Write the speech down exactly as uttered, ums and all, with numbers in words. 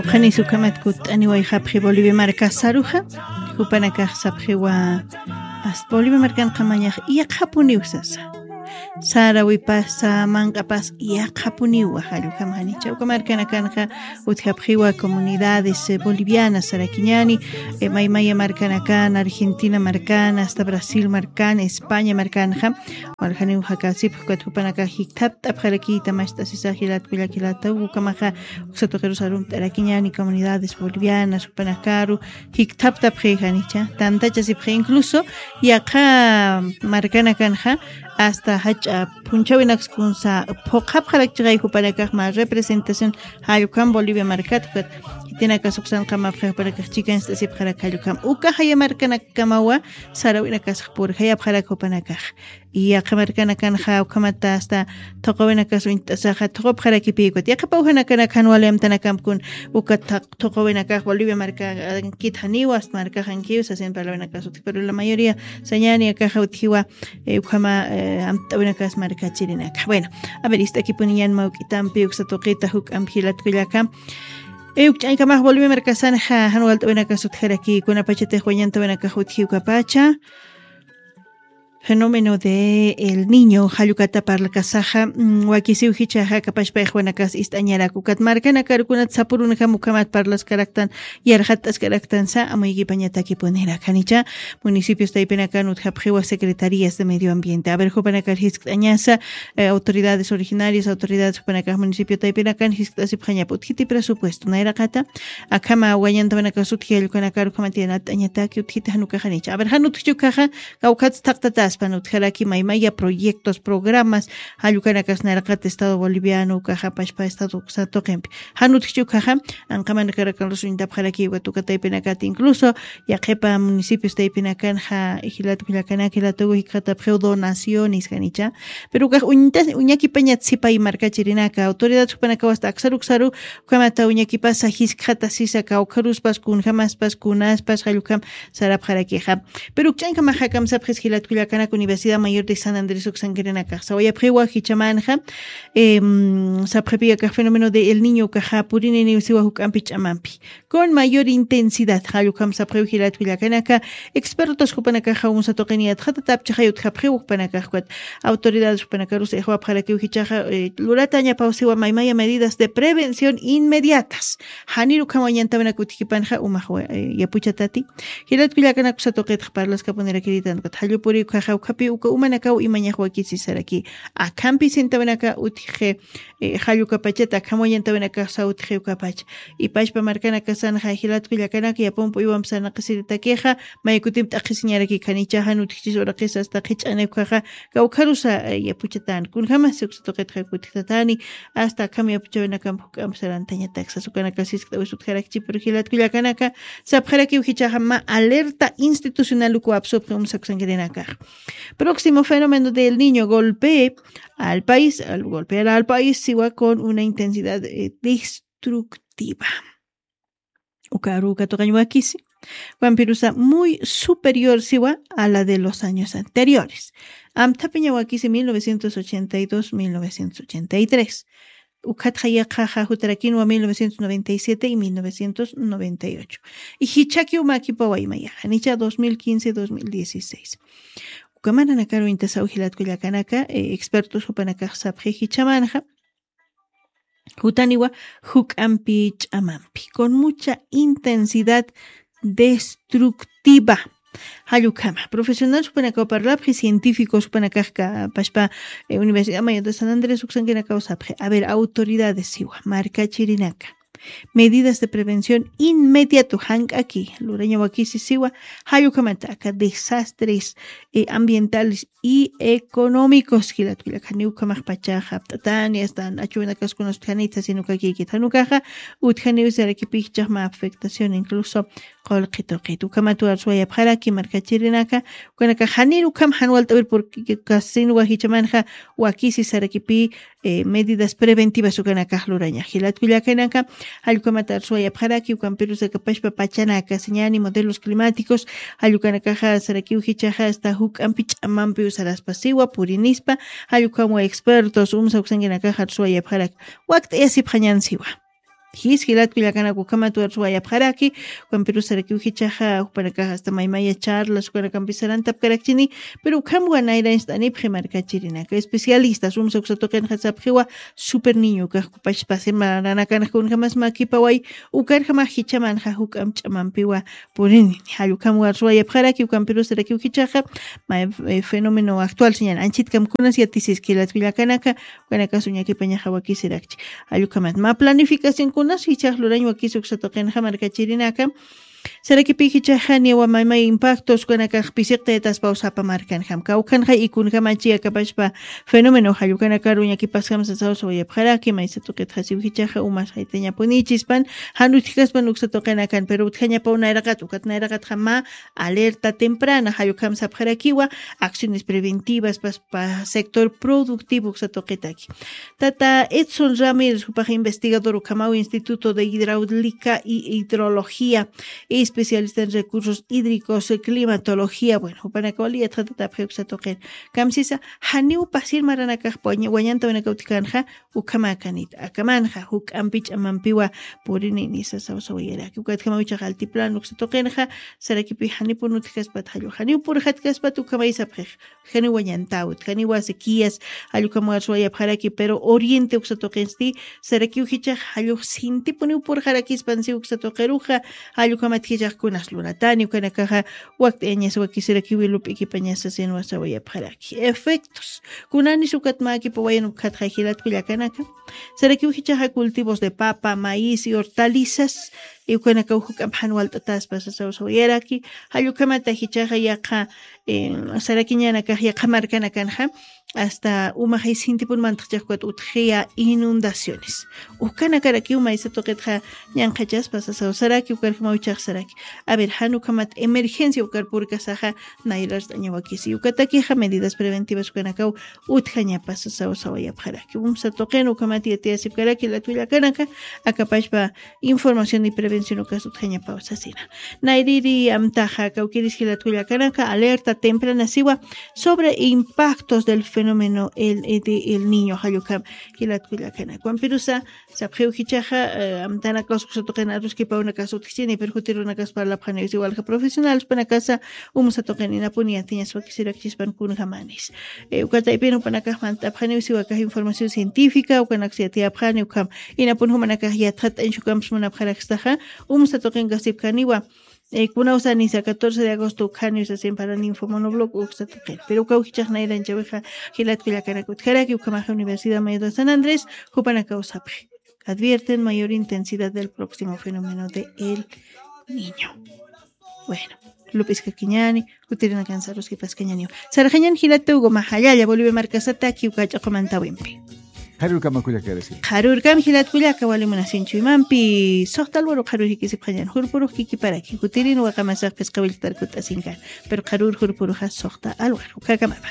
Janis ukhamat kutt'aniwayxapxi Bolivia markasaruxa, jupanakax sapxiwa, ast Bolivia markanqamañax iyaqapuniw sasa. Sarawipasa, manq'apas iyaqapuniwa, jallukam janicha. Uka markanakanxa utjapxiwa comunidades, eh, bolivianas sarakiñani, eh, maymaya markanakan, Argentina markan, hasta Brasil markan, España markanxa, walxaniw jakasipxi, ukat jupanakax jikthapt'apxarakïta, mast'asisa jilat kullakilata, ukamaxa uksa tuqirus arumt'arakiñani comunidades bolivianas, jupanakaru jikthaptapxi janicha, tantachasipxi, incluso yaqha markanakanxa hasta jach'a phunchhawinaks kunsa phuqhapxarakchixay jupanakax mä representación jallukam Bolivia markat, ukat jitinakas uksan qamapxi jupanakax chikanst'asipxarak jallukam. Uka jaya markanakamawa sarawinakasax purjayapxarak jupanakax. Y yaqha markanakanxa ukhamata hasta thuqawinakas uñt'asaxa thuqapxarakipï ukat. Yaqha pawjanakanak jan wali amtanakamp kun uka thaq-, thuqawinakax Bolivia markankit janiwa, hasta markaxankiw sasin parlawinakas utji, pero la mayoría sañani akaxa utjiwa, eh, ukhama, eh, amt'awinakas markachirinaka. Bueno, a ver, ist'akipuniñan mawk'itampi uksa tuqita juk'amp jilat kullaka. Eh, uk ch'añkamax Bolivia markasanxa jan walt'awinakas utjaraki, kunapachatix wañantawinakax utji ukapacha. Fenómeno de El Niño, jallukata parlakasaxa, mm, wakisiw jichhaxa kapachpa iqwanakas ist'añarak, ukat markanakar kunat sapurunjam ukhamat parlaskaraktan, yarxatt'askaraktansa, amuykipañatakipunirakan. Janicha, municipios taypinakan utjapxiwa secretarías de medio ambiente. A ver, jupanakar jiskt'añasa, eh, autoridades originarias, autoridades jupanakax municipio taypinakan jiskt'asipxañap utjiti presupuesto. Nayraqata, akhama wañantawinakas utji jallukanakarux ukhamat yanapt'añataki utjiti jan ukax janicha. A ver, jan utjchi ukaxa, kawkhat thaqtataspan utjaraki maymaya proyectos, programas, jallukanakas nayraqat Estado Boliviano ukaxa pachpa Estado uksa tuqimpi. Jan utjchi ukaxa, anqamanakarakan rusuñtapxaraki ukat uka taypinakat, incluso yaqhipa municipios taypinakanxa jilat kullakanaka jilatuku jikxatapxiw donaciones janicha. Pero ukax uñtas-, uñakipañat sipay markachirinaka, autoridad jupanakaw hasta aksaruksaru, ukhamata uñakipasa jiskxatasisa kawkharuspas, kunjamaspas, kunaspas, jallukam sarapxarakixa. Pero uk ch'añkamaxa kamsapxis jilat kullakanak Universidad Mayor de San Andrés uksankirinakax. Sawayapxiwa jichhamanxa, em, sapxipi akax fenómeno de El Niño ukaxa purininiw siwa juk'ampi ch'amampi. Con mayor intensidad, jallukam sapxiw jilat kullakanaka, expertos jupanakaxa umsa tuqiniyat jatatapchixay utjapxiw jupanakax ukat. Autoridades jupanakarus iqwapxarakiw jichhaxa, eh, luratañapaw siwa maymaya medidas de prevención inmediatas. Janir ukham wañantawinak utjikipanxa umax wa-, eh, yapuchatati. Jilat kullakanak uksa tuqitx parlaskapunirakiritanta ukat jallupuri ukaxa ukhapi uka umanakaw imañax wakisisaraki. Akhampi sintawinaka utji, eh, jallukapachata akham wañantawinakax sawtji ukapacha. Ipachpa markanakasanxa jilat kullakanaka yapump uywamp sarnaqisiritakixa, maykutimp t'aqhisiñaraki khanichaxa nutjchis uraqis hasta qhich'ani ukaxa, kawkharusa, eh, yapuchatan. Kunjamas uksa tuqitxa kutjtatani, hasta akham yapuchawinakamp juk'amp sarantañatak sas ukanaka siskt'awis utjarakchi, pero jilat kullakanaka, sapxarakiw jichhaxa mä alerta institucional uka wapsupxi umsa uksankirinakax. Próximo fenómeno del Niño golpee al país, al golpear al país, siwa con una intensidad, eh, destructiva. Uka aru uka tuqañ wakisi. Wampirusa muy superior siwa a la de los años anteriores. Amthapiña wakisi mil novecientos ochenta y dos, mil novecientos ochenta y tres. Ukhatxa yaqhaxa jutarakinwa mil novecientos noventa y siete y mil novecientos noventa y ocho. Y jichhaki umakipawa imayaxa, nicha dos mil quince, dos mil dieciséis. Uka mananakaru intasaw jilat kullakanaka, eh, expertos jupanakax sapxi jichhamanxa. Jutaniwa juk'ampi ch'amampi, con mucha intensidad destructiva. Jallukama, profesional jupanakaw parlapxi, científicos jupanakax ka-, pashpa, eh, Universidad Mayor de San Andrés uksankinakaw sapxi. A ver, autoridades siwa, markachirinaka. Medidas de prevención inmediato, jank'aki, luraña wakisi siwa, jallukamata aka desastres, eh, ambientales y económicos, jilat kullaka, janiw ukhamax pachaxa apt'atani, hasta achuwinakaskunas utjanitsa, sino que kikit janukaxa, utjaniw sarakipixchax mä afectación, incluso qullqi tuqit. Ukhamat arsuwayapxaraki markachirinaka, ukanaka janir ukham jan walt'awir, porque kasinwa jichhamanxa wakisi sarakipï, eh, medidas preventivas ukanakax luraña. Jilat kullakanaka, jallkukamata arsuwayapxaraki, ukampirus aka pashpa pachanaka, señani modelos climáticos, jallkukanakaxa sarakiw jichhaxa hasta juk'ampi ch'amampi usaraspa siwa, purinispa, jallkukamwa expertos, umsa uksankinakaxa arsuwayapxaraki. Wakt'ayasipxañan siwa. Jis jilatku llakanaka ukhamat warsuwayapxaraki. Ukampirusarakiw jichaxa jupanakax asta maymaya charlas ukanakampi sarantapkarakchini. Pero ukhamwa nayrancht'anipxi markachirinaka especialistas umsa uksa tuqinxa sapxiwa. Super niño kaxkupachpasi maranakanxa kunjamas makipaway. Ukarjamax jichamanxa juk'amp ch'amampiwa purini. Jallukhamwa warsuwayapxaraki ukampirusarakiw jichaxa. Fenómeno actual señal anchitkam kunas yatisiski jilatku llakanaka. Ukanakas uñakipañaxa wakisirakchi. Jallukhamat mä planificación kunas jichax lurañ wakisi uksa tuqinxa markachirinaka. Sarakipi jichaxa niwa maymay impactos ukanakax pisiqtaytaspaw sapa markanjam kawkhanxa ikunjamachi akapashpa. Fenómeno jallukanakar uñakipasjam sasawsawayapxaraki maysa tuqitxasiw jichaxa umas jaytañapunichispan. Jan utjkaspan uksa tuqinakan pero utjañapaw nayraqat ukat nayraqatxa mä alerta temprana jallukham sapxarakiwa. Acciones preventivas paspa sector productivo uksa tuqitaki. Tata Edson Ramírez jupax investigador ukhamaw Instituto de Hidráulica y Hidrología, especialista en recursos hídricos, climatología. Bueno, jupanakaw liyatxatatapxi uksa tuqin. Kamsisa janiw pasir maranakax wañantawinakaw utjkänxa. Ukhamakanit akamanxa juk'ampi ch'amampiwa purinini sasawsawayaraki ukatjamaw ichax altiplano uksa tuqinxa. Sarakipi janipun utjkaspat jallu janiw purxatkaspat ukhamay sapxix. Janiwa ñantawit janiwa sequías. Jallukhamwa suwayapxaraki pero oriente uksa tuqinsti sarakiw jichax jallux sintipuniw purxarakispansi uksa tuqiruxa. Jallukhamat jichax kunas lunatani ukanakaxa wakt'ayañas wakisirakiwi lup'ikipañas sasinwa sawayapxaraki efectos. Kunanis ukat mäkipawayan ukhatxa jilatku llakanaka. Sarakiw jichaxa cultivos de papa maíz y hortalizas. Ukanakaw juk'amp jan walt'ataspa sasaw sawayaraki. Jallukhamata jichaxa yaqha sarakiñanakax yaqha markanakanxa asta umaxay sintipun mantaxchaxkukat utjiya inundaciones. Ukanakarakiw maysa tuqitxa ñanqhachaspa sasaw saraki ukarjamaw ichax saraki. A ver jan ukhamat emergencia ukar purkasaxa. Nayrart'añawakisi ukatakixa medidas preventivas ukanakaw utjañapa sasaw sawayapxaraki umsa tuqin ukhamat yatiyasipkaraki latwillakanaka. Akapashpa información y prevención ukas utjañapaw sasina. Nayriri amtaxa kawkiris jilatkullakanaka alerta temprana siwa sobre impactos del fenómeno el de el niño jallukham. Jilatkullakanaka wampirusa sapxiw jichaxa amtanakaws uksa tuqin aruskipawnakas utjchini pero jutirunakas parlapxaniw siwalja profesionales panakasa umsa tuqin inapuni yatiñas wakisirakchispan kunjamanis. Ukataypin upanakax mant'apxaniw siwakax información científica ukanaks yatiyapxani ukham. Inapun jumanakax yatxat'añ shukamps munapxarakstaxa umsa tuqin kasipkaniwa. Kunawsanisa catorce de agosto ukhaniw sasin para ninfomonobloc uksa tuqin pero ukaw jichax nayranchawixa. Jilatkullakanaka utjaraki ukhamaxa universidad mayor de san andrés jupanakaw sapxi. Advierten mayor intensidad del próximo fenómeno de el niño. Bueno, lup'iskakiñani jutirinakan saruskipaskañaniw. Sarxañan jilata uguma jallalla bolivia markasataki uka ch'aqumantawimpi. Qharurkama kullakarasi. Qharurkam jilatkullaka walimunasinchuymampi soxta alwaru qharur jikisipxañan jurpurux kikiparaki jutirin waqamasax phisqawilltarkut'asinkan. Pero qharur jurpuruxa soxta alwaru ukakamama.